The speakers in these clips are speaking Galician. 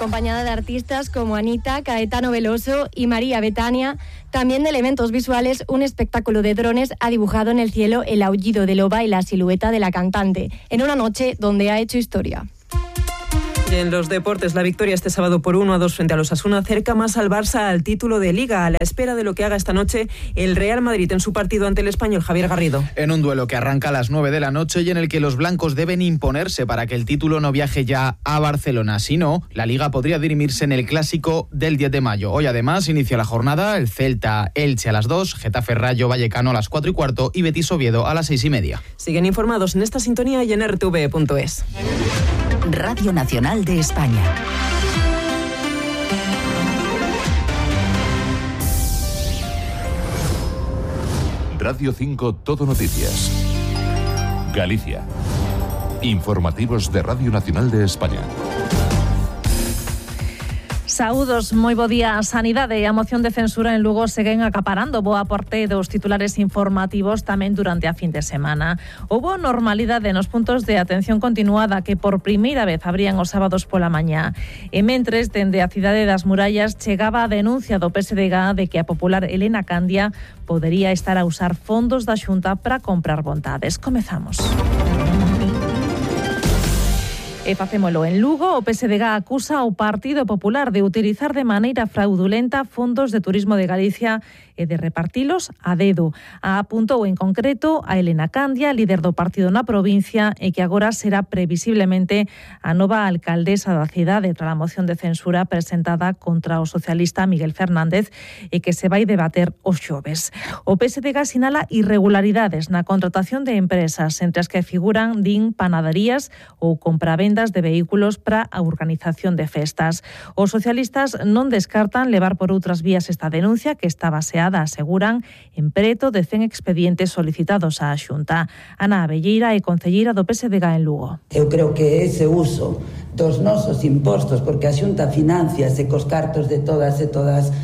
acompañada de artistas como Anita, Caetano Veloso y María Betania. También de elementos visuales, un espectáculo de drones ha dibujado en el cielo el aullido de loba y la silueta de la cantante, en una noche donde ha hecho historia. Y en los deportes, la victoria este sábado por 1-2 frente a los Osasuna acerca más al Barça al título de Liga, a la espera de lo que haga esta noche el Real Madrid en su partido ante el Español. Javier Garrido. En un duelo que arranca a las 9 de la noche y en el que los blancos deben imponerse para que el título no viaje ya a Barcelona. Si no, la Liga podría dirimirse en el Clásico del 10 de mayo. Hoy además inicia la jornada el Celta-Elche a las 2, Getafe-Rayo Vallecano a las 4:15 y Betis-Oviedo a las 6:30. Siguen informados en esta sintonía y en rtv.es. Radio Nacional de España. Radio 5 Todo Noticias. Galicia. Informativos de Radio Nacional de España. Saúdos, moi bo día. A sanidade e a moción de censura en Lugo seguen acaparando boa parte dos titulares informativos tamén durante a fin de semana. Houbo normalidade nos puntos de atención continuada que por primeira vez abrían os sábados pola mañá. E mentres, dende a cidade das Murallas chegaba a denuncia do PSDG de que a popular Elena Candia podería estar a usar fondos da Xunta para comprar vontades. Comezamos. E facémolo en Lugo. O PSDG acusa ao Partido Popular de utilizar de maneira fraudulenta fondos de turismo de Galicia e de repartilos a dedo. Apuntou en concreto a Elena Candia, líder do partido na provincia, e que agora será previsiblemente a nova alcaldesa da cidade tras a moción de censura presentada contra o socialista Miguel Fernández e que se vai debater os xoves. O PSDG sinala irregularidades na contratación de empresas, entre as que figuran, din, panaderías ou compravendas de vehículos para a organización de festas. Os socialistas non descartan levar por outras vías esta denuncia que está baseada, aseguran, en preto de 100 expedientes solicitados á Xunta. Ana Abelleira é concelleira do PSDG en Lugo. Eu creo que ese uso dos nosos impostos, porque a Xunta financiase cos cartos de todas e todas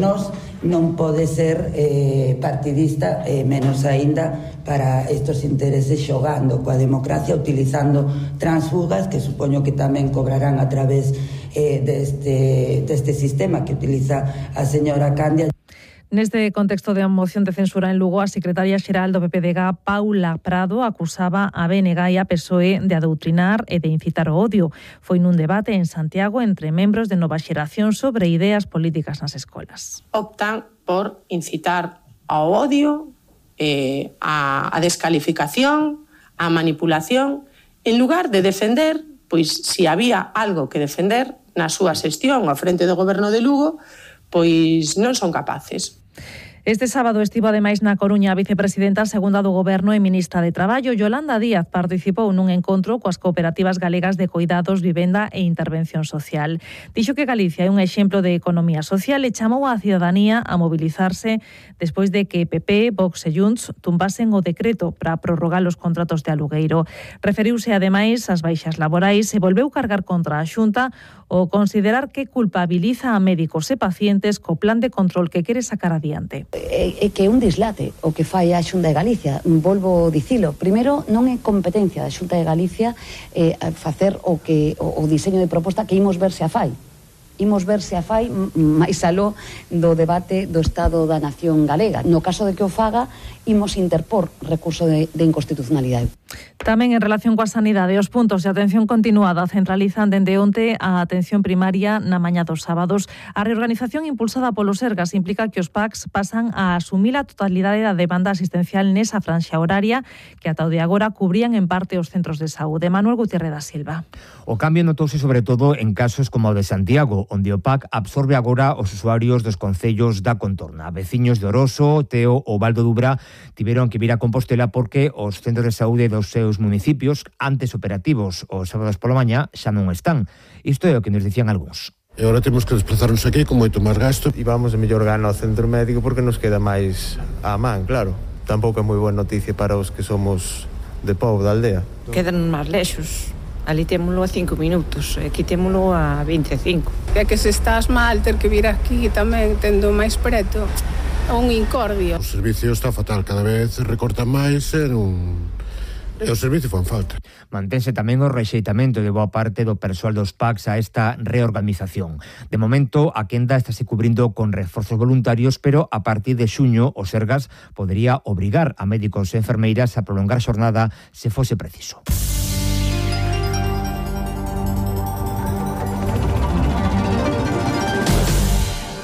nós, non pode ser partidista, menos aínda para estos intereses xogando coa democracia, utilizando transfugas que supoño que tamén cobrarán a través deste sistema que utiliza a señora Candia. Neste contexto de moción de censura en Lugo, a secretaria xeral do PPDG, Paula Prado, acusaba a BNG e a PSOE de adoutrinar e de incitar o odio. Foi nun debate en Santiago entre membros de Nova Xeración sobre ideas políticas nas escolas. Optan por incitar ao odio, a descalificación, a manipulación, en lugar de defender, pois se había algo que defender na súa xestión ao frente do goberno de Lugo, pois non son capaces. Este sábado estivo ademais na Coruña a vicepresidenta segunda do Goberno e ministra de Traballo. Yolanda Díaz participou nun encontro coas cooperativas galegas de coidados, vivenda e intervención social. Dixo que Galicia é un exemplo de economía social e chamou á cidadanía a mobilizarse despois de que PP, Vox e Junts tumbasen o decreto para prorrogar os contratos de alugueiro. Referiuse ademais ás baixas laborais e volveu cargar contra a Xunta o considerar que culpabiliza a médicos e pacientes co plan de control que quere sacar adiante. É que é un dislate o que fai a Xunta de Galicia. Volvo dicilo. Primeiro, non é competencia da Xunta de Galicia facer o diseño de proposta que imos ver se a fai. Imos ver se a fai máis aló do debate do Estado da Nación Galega. No caso de que o faga, imos interpor recurso de inconstitucionalidade. Tamén en relación coa sanidade, os puntos de atención continuada centralizan dende onte a atención primaria na mañá dos sábados. A reorganización impulsada polo Sergas implica que os PACs pasan a asumir a totalidade da demanda asistencial nesa franxa horaria que ata o de agora cubrían en parte os centros de saúde. Manuel Gutiérrez da Silva. O cambio notouse sobre todo en casos como o de Santiago, onde o PAC absorbe agora os usuarios dos concellos da contorna. Veciños de Oroso, Teo ou Val do Dubra tiveron que vir a Compostela porque os centros de saúde dos seus municipios, antes operativos os sábados pola mañá, xa non están. Isto é o que nos dicían algúns. E agora temos que desplazarnos aquí con moito máis gasto. E vamos de mellor gana ao centro médico porque nos queda máis á man, claro. Tampouco é moi boa noticia para os que somos de povo da aldea. Quedan máis lexos. Ali témolo a 5 minutos, aquí témolo a 25. É que se estás mal ter que vir aquí tamén tendo máis preto, é un incordio. O servicio está fatal, cada vez recortan máis e E o servicio fan falta. Mantense tamén o rexeitamento de boa parte do persoal dos PACs a esta reorganización. De momento, a quenda estáse cubrindo con reforzos voluntarios, pero a partir de xuño o Sergas podería obrigar a médicos e enfermeiras a prolongar xornada se fose preciso.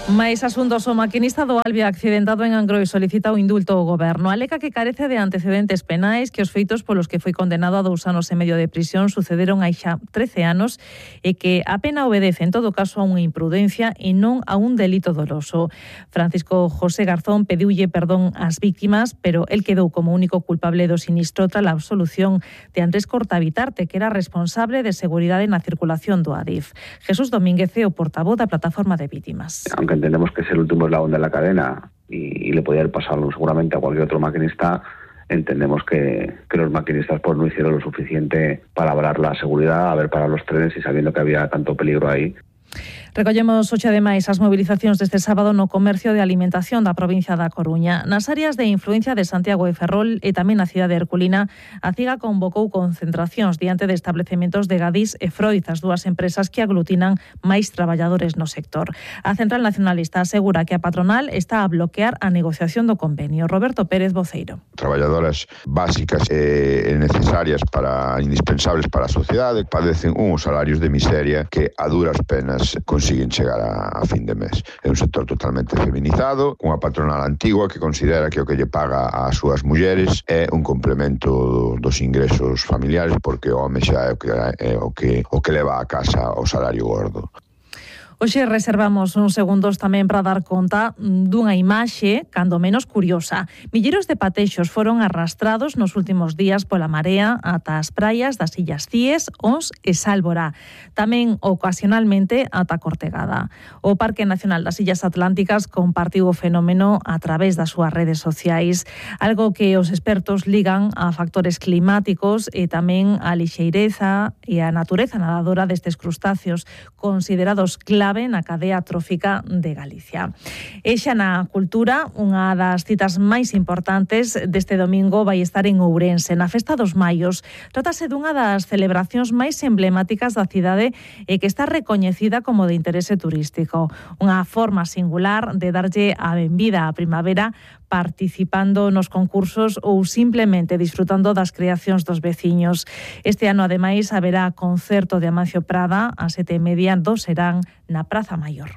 Mais asuntos, o maquinista do Alvia accidentado en Angrois solicita o indulto ao goberno. Alega que carece de antecedentes penais, que os feitos polos que foi condenado a 2 anos e medio de prisión sucederon hai xa 13 anos e que a pena obedece en todo caso a unha imprudencia e non a un delito doloso. Francisco José Garzón pediulle perdón ás víctimas, pero el quedou como único culpable do sinistro tras a absolución de Andrés Cortabitarte, que era responsable de seguridade na circulación do Adif. Jesús Domínguez é o portavoz da plataforma de víctimas. Aunque entendemos que es el último eslabón de la cadena y le podía haber pasado seguramente a cualquier otro maquinista, entendemos que los maquinistas pues no hicieron lo suficiente para avalar la seguridad, a ver para los trenes y sabiendo que había tanto peligro ahí. Recollemos hoxe ademais as movilizacións deste sábado no comercio de alimentación da provincia da Coruña. Nas áreas de influencia de Santiago e Ferrol e tamén na cidade de Herculina, a CIGA convocou concentracións diante de establecementos de Gadis e Freud, as dúas empresas que aglutinan máis traballadores no sector. A Central Nacionalista asegura que a patronal está a bloquear a negociación do convenio. Roberto Pérez, voceiro. Traballadoras básicas e necesarias indispensables para a sociedade padecen uns salarios de miseria que a duras penas consiguen chegar a fin de mes. É un sector totalmente feminizado, unha patronal antigua que considera que o que lle paga ás súas mulleres é un complemento dos ingresos familiares porque o home xa é o que leva a casa o salario gordo. Hoxe reservamos uns segundos tamén para dar conta dunha imaxe, cando menos curiosa. Milleiros de patexos foron arrastrados nos últimos días pola marea ata as praias das Illas Cíes, Ons e Sálvora. Tamén ocasionalmente ata Cortegada. O Parque Nacional das Illas Atlánticas compartiu o fenómeno a través das súas redes sociais, algo que os expertos ligan a factores climáticos e tamén a lixeireza e a natureza nadadora destes crustáceos, considerados clave na cadea trófica de Galicia. E xa na cultura, unha das citas máis importantes deste domingo vai estar en Ourense, na Festa dos Maios. Trátase dunha das celebracións máis emblemáticas da cidade e que está recoñecida como de interese turístico. Unha forma singular de darlle a benvida á primavera participando nos concursos ou simplemente disfrutando das creacións dos veciños. Este ano, ademais, haberá concerto de Amancio Prada a 7:30 do Serán na Praza Maior.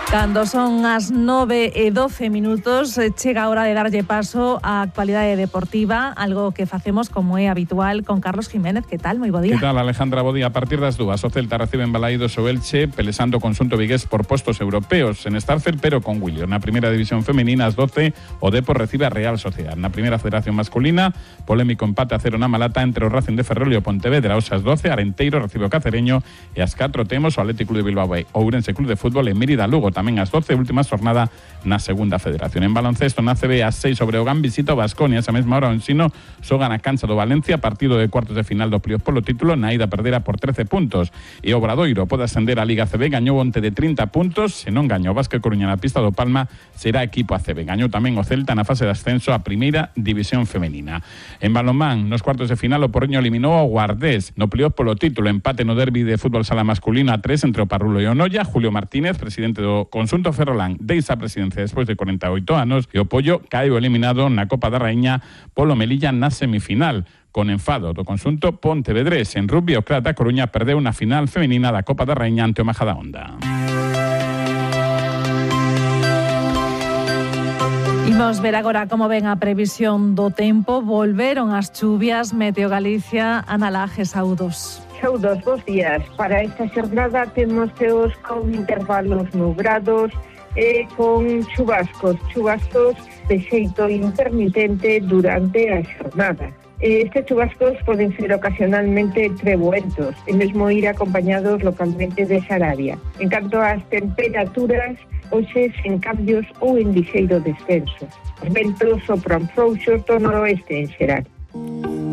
Cando son as 9:12, chega a hora de darlle paso á actualidade deportiva, algo que facemos como é habitual con Carlos Jiménez. Que tal? Moi bo día. Que tal, Alejandra? Bo día. A partir das 2, o Celta recibe en Balaídos o Elche, pelesando o conxunto vigués por postos europeos en Starfel, pero con William. Na primeira división femenina, ás 12, o Depor recibe a Real Sociedad. Na primeira federación masculina, polémico empate a 0 na Malata entre o Racing de Ferrol e o Pontevedra. Ás 12, Arenteiro recibe o Cacereño e ás 4 temos o Atlético de Bilbao e Ourense Club de Fútbol en Mérida Lugo. Tamén ás 12, última jornada na segunda federación. En baloncesto, na CB, ás 6 sobre o Breogán visita o Baskonia. Esa mesma hora o Ensino xoga na cancha do Valencia, partido de cuartos de final do playoff polo título. Na ida perdera por 13 puntos. E o Obradoiro pode ascender a Liga CB, gañou onte de 30 puntos. Se non gañou o Vázquez Coruña na pista do Palma, será equipo ACB. Gañou tamén o Celta na fase de ascenso a primeira división femenina. En balonmán, nos cuartos de final, o Porriño eliminou o Guardés no playoff polo título. Empate no derbi de fútbol sala masculino a 3 entre o Parrulo e o Noia. Julio Martínez, presidente do conxunto Ferrolán, deixa a presidencia despois de 48 anos e o Pollo caeu eliminado na Copa da Raíña polo Melilla na semifinal. Con enfado do conxunto pontevedrés. En rugby, o Clat da Coruña perdeu na final femenina da Copa da Raíña ante o Majadahonda. Imos ver agora como ven a previsión do tempo. Volveron as chuvias. Meteo Galicia, Ana Laje, saúdos. Saúdos, bons días. Para esta xornada temos ceos con intervalos nubrados e con chubascos de xeito intermitente durante a xornada. Estes chubascos poden ser ocasionalmente treboentos e mesmo ir acompañados localmente de xarabia. En canto ás temperaturas, hoxe sen cambios ou en lixeiro descenso. Os ventos sopran frouxos do noroeste en xeral.